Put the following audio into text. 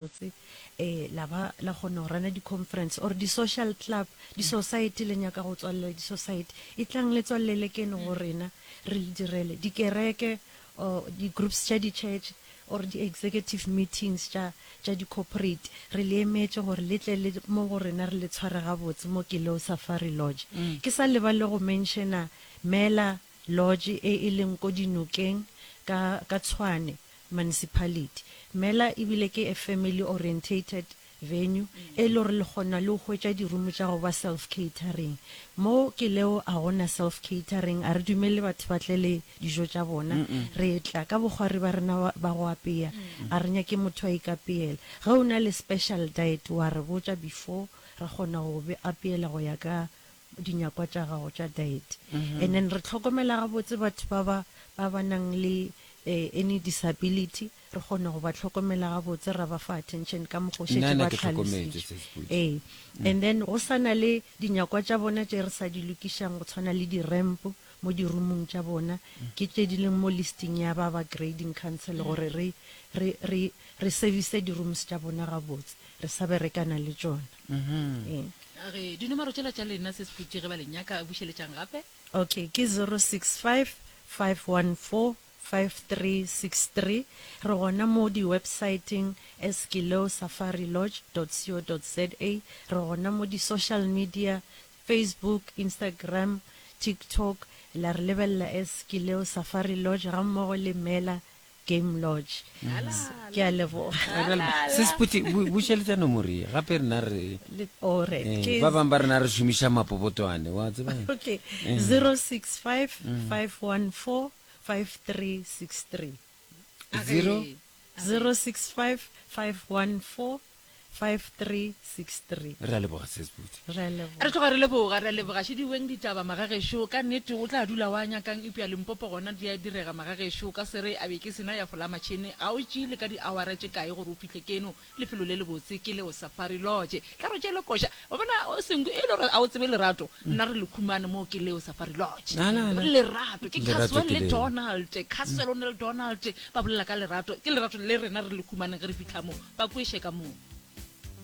Botse eh la ba la kgona go rana di-conference or di-social club, di-society le nyaka go tswalela di-society, etlang le tswalele keno go rena re le direle. Dikereke or di-groups tša di-church or di-executive meetings tša tša di-corporate, re le emetše gore le tle le mo go rena re le tshware gabotse mo Keleo Safari Lodge. Ke sa lebale go mentiona Mela Lodge e e leng ko dinokeng ka ka Tshwane Municipality. Mela ebile ke a family orientated venue e le gore le kgona le go hwetša di-room tša go ba self catering. Mo ke leo a gona self catering, a re dumele batho ba tle le dijo tša bona. Re tla ka bokgwari ba rena ba go apea, a re nyake motho a ikapeela. Ge o na le special diet wa re botša before ra kgona go go apeela go ya ka dinyakwa tša gago tša diet. And then re hlokomela gabotse batho ba ba ba ba nang le any disability, re kgona go ba hlokomela gabotse ra ba fa attention ka mokgwa o šetše Nna ba ke hlokometše hlalositšwe. se Sepudi. Ee. And then go sa na le dinyakwa tša bona tše re sa di lokišang go tshwana le di-ramp mo di-roomong tša bona, ke tše di leng mo listing ya ba ba grading council gore re re re re service di-rooms tša bona gabotse, re sa berekana le tšona. Ee. A re, Dinomoro tšela tša lena se Sepudi ge ba le nyaka, bušeletšang gape. Okay, ke 065 514 5363. Re gona mo di-websiteng as kileosafarilodge dot co dot za. Re gona mo di-social media, Facebook, Instagram, TikTok, la re lebelela as Kileo Safari Lodge gammogo le Mela Game Lodge. Ke a leboga. Se Seputi, bušeletša nomoro ye gape rena re Alright, eh, ke ba bangwe ba rena re šomiša mapobotwane wa tseba Okay, 065 514 5363. Zero 065 514 5363. Re a leboga Sis Buti. Re a leboga. Re tloga re leboga, re a leboga. Šediweng ditaba magagešo, ka nnete o tla dula wa nyakang eupša Limpopo gona di a direga magagešo, o ka se re a be ke sena ya fola matšhene, ga o tšee le ka di-hour tše kae gore o fihle keno, lefelo le lebotse ke leo Safari Lodge. Tla re o tšeele koša, wa bona Senku e le gore a o tsebe lerato, nna re le khumane moo ke leo Safari Lodge. Na, na, na. Lerato, ke Lerato Caswell ke le leo. Donald, Caswell le Donald ba bolela ka lerato, ke lerato le rena re le khumaneng ge re fihla moo. Ba kweše ka moo.